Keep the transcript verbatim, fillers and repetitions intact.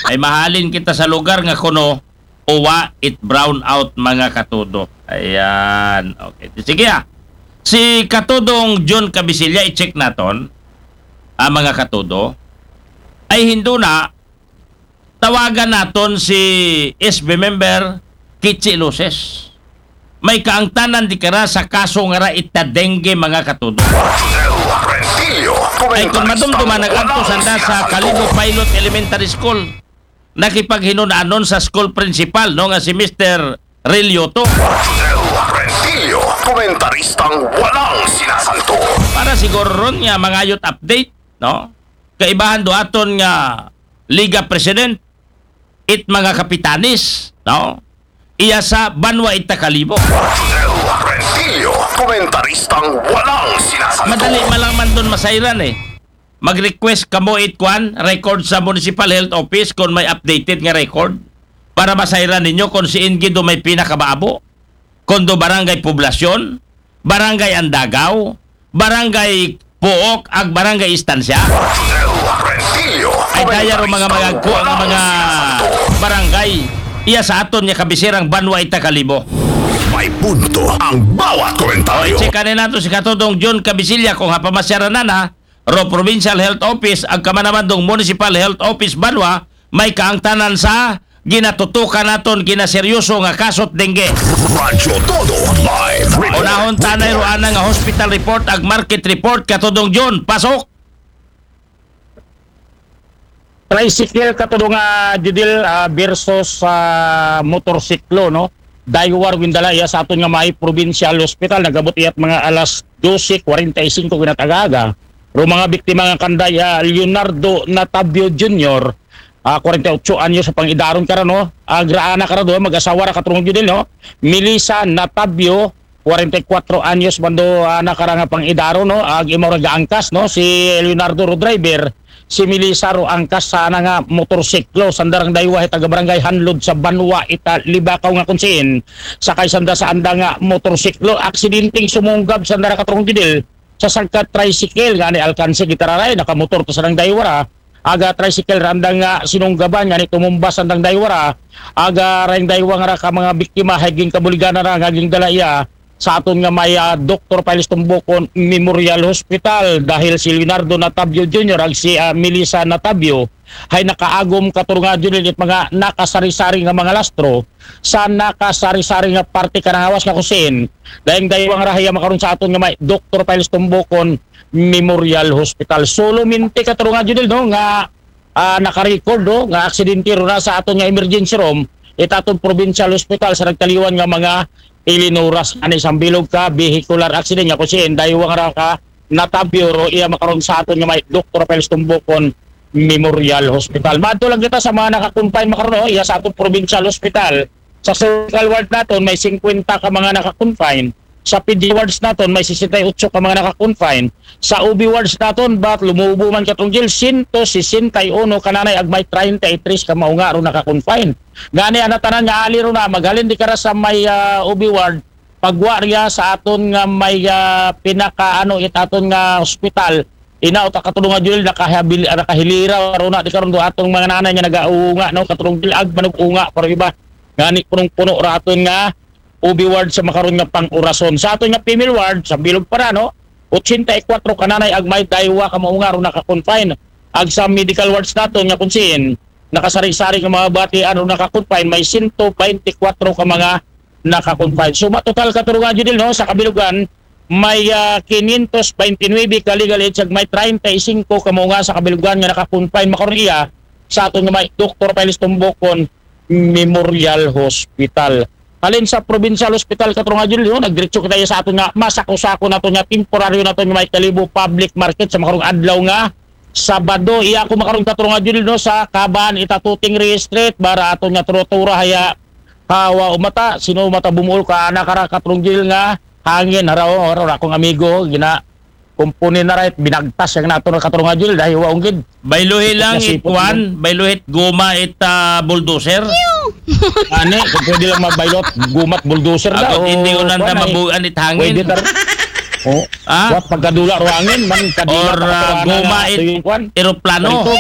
Ay mahalin kita sa lugar nga kuno, uwa it brown out, mga katudo. Ayan. Okay. Sige, ah. Si Katudong John Cabisilla, i-check naton, ah, mga katudo. Ay hindo na, tawagan naton si S B member Kichi Luces. May kaangtanan di kara sa kaso nga ra ita dengue, mga katudo. Ay kung madumduman, nag-adto sanda sa Kalibo Pilot Elementary School. Nakipaghinunanon sa school principal, no, nga si Mister Relioto. Rodel Rentillo, komentaristang walang sinasanto. Para siguro ron nga mangayot update, no? Kaibahan do aton nga Liga President, it mga kapitanes, no? Iya sa banwa ita Kalibo. Rodel Rentillo, komentaristang walang sinasanto. Madali malaman don masayran eh. Mag-request kamo it kwan, record sa Municipal Health Office kung may updated nga record para masayran ninyo kung siin gid do may pinakabaabo. Kung do Barangay Poblasyon, Barangay Andagaw, Barangay Puok, ag Barangay Estancia. Rodel Rentillo, Ay daya ro mga komentaristang magagko ang walang mga sinasanto. Barangay. Iya sa aton nga kabisirang banwa ita Kalibo. May punto ang bawat komentaryo. Check kanin nato si Katudong John Cabisilla kung hapamasyaran na na ro Provincial Health Office, ag kamanaman dong Municipal Health Office banwa, may kaangtanan sa ginatutukan naton ginaseryoso nga kasot dengue. Radyo Todo Live Report. Unahon tanay ro ana nga hospital report ag market report, Katudong John. Pasok. Tricycle, Katudong, ah, Judil, ah, versus, ah, motorsiklo, no? Daywar windala iya sa aton nga may provincial hospital, nagabot iyat mga alas dose kwarenta y singko ginatagaga. Ro mga biktima nga kanday, ah, Leonardo Natavio Junior, ah, kwarenta y otso anyos sa pangidaron kara, no? Agraana kara do, mag-asawa ra, Katudong Judil, no? Melissa Natavio, kwarenta y kwatro anyos man do, ah, nakara nga pangidaron, no? Ag imaw ra gaangkas, no? Si Leonardo ro driver, si Melissa ro angkas sa ana nga motorsiklo, sanda rang daywa hit taga Barangay Hanlod sa banwa ita Libacao nga kunsiin. Sakay sanda sa anda nga motorsiklo, aksidenteng sumunggab sanda ra, Katudong Judil, sa sangka tricycle, ngani alkanse gid ta ra ray, nakamotor ta sa dang daywa ra. Aga tricycle ra andang nga sinunggaban, ngani tumumba sandang daywa ra. Aga rayng daywa nga ra ka mga biktima, hay ginkabuligan na ra nga gindala iya sa aton nga may, ah, Doktor Piles Tumbukon Memorial Hospital, dahil si Leonardo Natavio Junior ag si, ah, Melissa Natavio hay nakaagom, Katudong Judil, it mga nakasari-sari nga mga lastro sa nakasari-sari nga parte kanang hawas nga kusin. Dayng daywa nga ra hiya makaron sa aton nga may Doktor Piles Tumbukon Memorial Hospital. Solamente, Katudong Judil, no, nga, ah, naka-record, no, nga aksidente ro na sa aton nga emergency room, it aton provincial hospital sa nagtaliwan nga mga ilinuras ani sambilog ka vehicular accident nga kusin daywa nga ra ka Natavio ro iya makaron sa aton nga may Doktor Piles Tumbukon Memorial Hospital. Madto lang kita sa mga naka-confine makaron, no, iya sa aton provincial hospital. Sa surgical ward naton, may singkwenta ka mga naka-confine. Sa pedi wards naton, may sesenta y otso ka mga naka-confine. Sa O B wards naton, bat lumubo man, Katudong Judil, sento sesenta y uno ka nanay ag may treinta y tres ka maunga ro naka-confine. Ngani ana tanan nga ali ro na, maghalin di kara sa may, ah, O B ward, pagwa riya sa aton nga may, ah, pinaka, ano, it aton nga hospital. Ina, o ta, Katudong Judil, nakahabil-, nakahilira ro na di karon do atong mga nanay nga nagaunga, no, Katudong Judil, ag manug-unga pa ro iba. Ngani punong-puno ra aton nga O B ward sa makaron nga pang-orason. Sa aton nga female ward, sambilog pa ra, no, otsenta y kwatro ka nanay ag may daywa ka maunga ro naka-confine. Ag sa medical wards naton nga kunsiin, nakasari-sari nga mga batian ro naka-confine, may sento baynte kwatro ka mga naka-confine. So, matotal, Katudong Judil, no, sa kabilugan, may, ah, kinyentos baynte nuwebe ka legal age ag may treinta y singko ka maunga sa kabilugan nga naka-confine makaron iya sa aton nga may Doktor Piles Tumbukon Memorial Hospital. Halin sa provincial hospital, Katudong Judil, no, nagdiretso kita iya sa aton nga masako-sako naton nga temporaryo naton nga may Kalibo Public Market sa makarong adlaw nga Sabado. Iya ko makaron, Katudong Judil, no, sa kaban ita Tuting Ri Street, bara aton nga trotura haya hawa umata, sino umata bumuol ka, ana kara, Katudong Judil, nga hangin, haraw, haraw, akong amigo, gina, kumpuni na right, binagtas yang nato na, Katudong Judil, dahil wa unggid. Bayluhi lang Nasipot it kwan, mo. Bayluhi it goma it, ah, bulldozer. Ani, kung pwede lang mabaylot, gumat bulldozer na, Ako, o hindi ko nanda kwan, ay, mabuan it hangin. Pwede tar-, oh, Ah? Wa, pagkadula ro hangin, man, kadula Or, pa ah, katawan goma na it ito yung kwan. Eroplano. Ito.